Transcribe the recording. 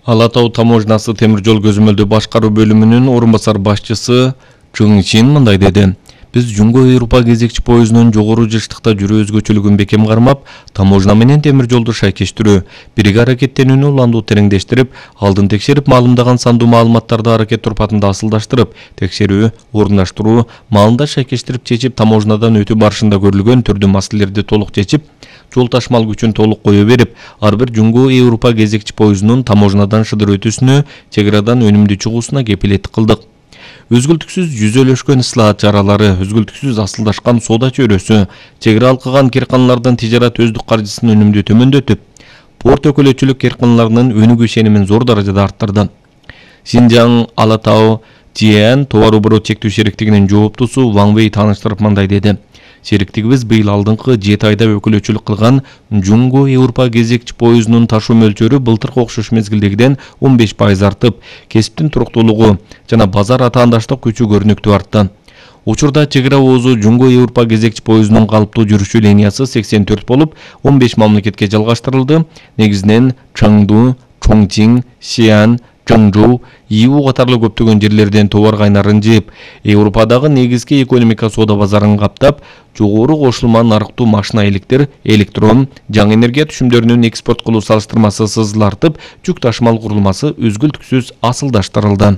Ала Тау таможнасы темир жол көзөмөлдөө башкаруу бөлүмүнүн орун басар башчысы Чың Чин мындай деди. Биз Жумго Европа кезекчи поездунун жогору жыштыкта жүрүү өзгөчөлүгүн бекем кармап, таможна менен темир жолду шайкештирүү, бирге аракеттенүүнү уландуу тереңдештирип, алдын текшерип маалымдаган сандуу маалыматтарды аракет турпатында асылдаштырып, текшерүү, орундаштыруу, маалында шайкештирип чечип, таможнадан өтүү барышында көрүлгөн түрдүү маселелерди толук чечип, жол ташмал күчүн толук кое берип, ар бир Жумго Европа кезекчи поездунун таможнадан шыдыр өтүүсүнө, чек арадан өнүмдүү чыгуусуна кепилеттик кылдык. Өзгөлтүксүз жүзөлөшкөн ыслаат чаралары, өзгөлтүксүз асылдашкан соода чөйрөсү, чек ара алкаган керканалардын тижарат өздүк каржысын өнүмдүү төмөндөтүп, порт өкөлөчүлүк керканаларынын өнүгүү ишенимин зор даражада арттырды. Синжаң Ала Тау Тиэн товар оборот чектөө шериктигинин жооптусу Ван Вэй тааныштырып мындай деди. Шериктигибиз быйыл алдыңкы 7 айда өкөлөчүлүк кылган Жумго Европа кезекчи поездунун ташуу мөлчөрү былтыркы окшош мезгилдегиден 15% артып, кесиптин туруктуулугу жана базар атаандаштык күчү көрүнүктүү артты. Учурда чек ара оозу Жумго Европа кезекчи поездунун калыптуу жүрүшү линиясы 84 болуп, 15 мамлекетке жалгаштырылды. Негизинен Чаңду, Чоңчиң, Сиан, Чаңжоу, Иу катарлуу көптөгөн жерлерден товар кайнарын жыйып, Европадагы негизги экономика соода базарын каптап, жогору кошулма нарыктуу машина электер, электрон, жаңы энергия түшүмдөрүнүн экспорт кылуу салыштырмасы сызыл артып, жүк ташымал курулмасы өзгөлтүксүз асылдаштырылды.